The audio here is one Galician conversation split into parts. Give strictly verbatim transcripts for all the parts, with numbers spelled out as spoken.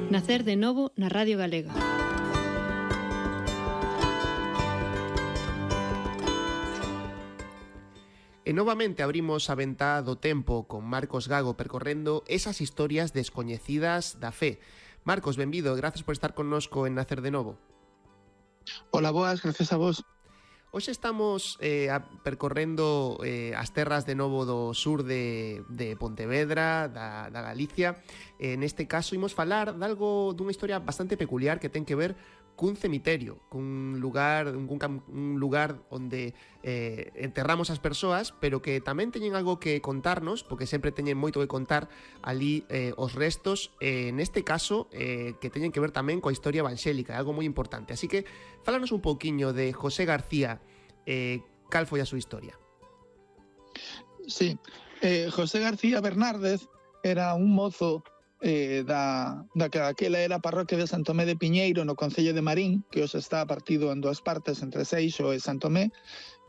Nacer de novo na Radio Galega. E novamente abrimos a ventá do tempo con Marcos Gago percorrendo esas historias descoñecidas da fe. Marcos, benvido, gracias por estar connosco en Nacer de novo. Hola, boas, gracias a vos. Hoxe estamos eh, a, percorrendo eh, as terras de novo do sur de, de Pontevedra, da, da Galicia. Eh, neste caso, imos falar de algo, dunha historia bastante peculiar que ten que ver cun cemiterio, cun lugar, un, un lugar onde eh, enterramos as persoas, pero que tamén teñen algo que contarnos, porque sempre teñen moito que contar ali eh, os restos, eh, neste caso, eh, que teñen que ver tamén coa historia evangélica, algo moi importante. Así que, fálanos un pouquiño de José García, eh, cal foi a súa historia? Sí, eh, José García Bernárdez era un mozo eh, da, da que aquela era a parroquia de Santo Tomé de Piñeiro no concello de Marín, que hoxe está partido en dúas partes entre Seixo e Santo Tomé.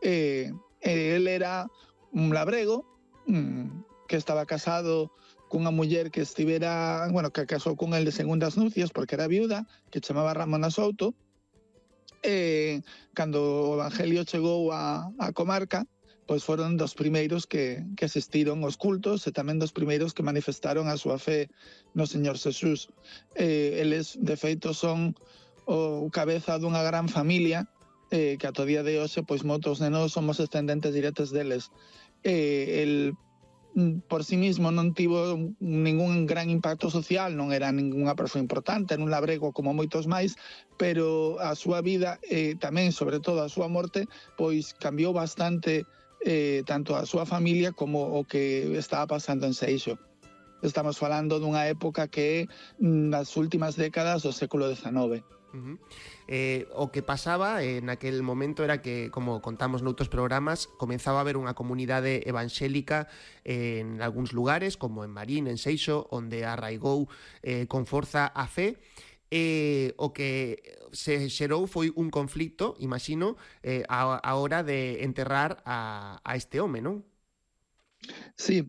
Eh, eh, el era un labrego mm, que estaba casado cunha muller que estivera, bueno, que casou con el de segundas nupcias porque era viuda, que chamaba Ramona Souto. Eh, cando o Evangelio chegou a, a comarca, pois foron dos primeiros que, que asistiron aos cultos e tamén dos primeiros que manifestaron a súa fe no Señor Xesús. Eh, eles, de feito, son o cabeza dunha gran familia eh, que ata o día de hoxe, pois moitos de nós somos descendentes directos deles. Eh, el por sí mismo non tivo ningún gran impacto social, non era ningunha persoa importante, era un labrego como moitos máis, pero a súa vida, eh, tamén, sobre todo a súa morte, pois cambiou bastante eh, tanto a súa familia como o que estaba pasando en Seixo. Estamos falando dunha época que é nas últimas décadas do século dezenove. Uh-huh. Eh, o que pasaba en aquel momento era que, como contamos noutros programas, comenzaba a haber unha comunidade evangélica en algúns lugares, como en Marín, en Seixo, onde arraigou eh, con forza a fe. Eh, o que se xerou foi un conflicto, imagino, eh, a, a hora de enterrar a, a este home, non? Sí.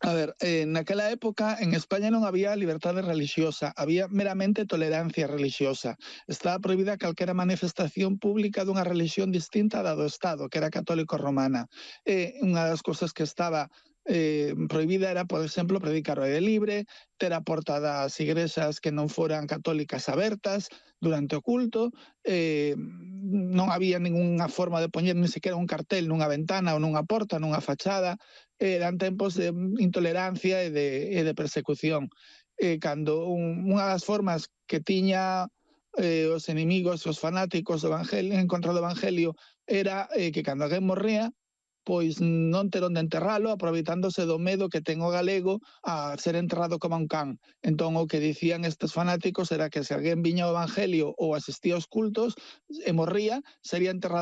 A ver, eh, naquela época en España non había liberdade religiosa, había meramente tolerancia religiosa. Estaba prohibida calquera manifestación pública dunha religión distinta da do Estado, que era católico romana. E unha das cousas que estaba eh, prohibida era, por exemplo, predicar ao aire libre, ter a porta das igrexas que non foran católicas abertas durante o culto, eh, non había ninguna forma de poñer ni sequera un cartel nunha ventana ou nunha porta, nunha fachada. Eran tempos de intolerancia e de, e de persecución. Eh, cando un, unha das formas que tiña eh, os enemigos, os fanáticos do evangelio, en contra do evangelio, era eh, que cando alguén morría, pois non ter onde enterralo, aproveitándose do medo que ten o galego a ser enterrado como un can. Entón, o que dicían estes fanáticos era que se alguén viña ao evangelio ou asistía aos cultos e morría, sería enterrado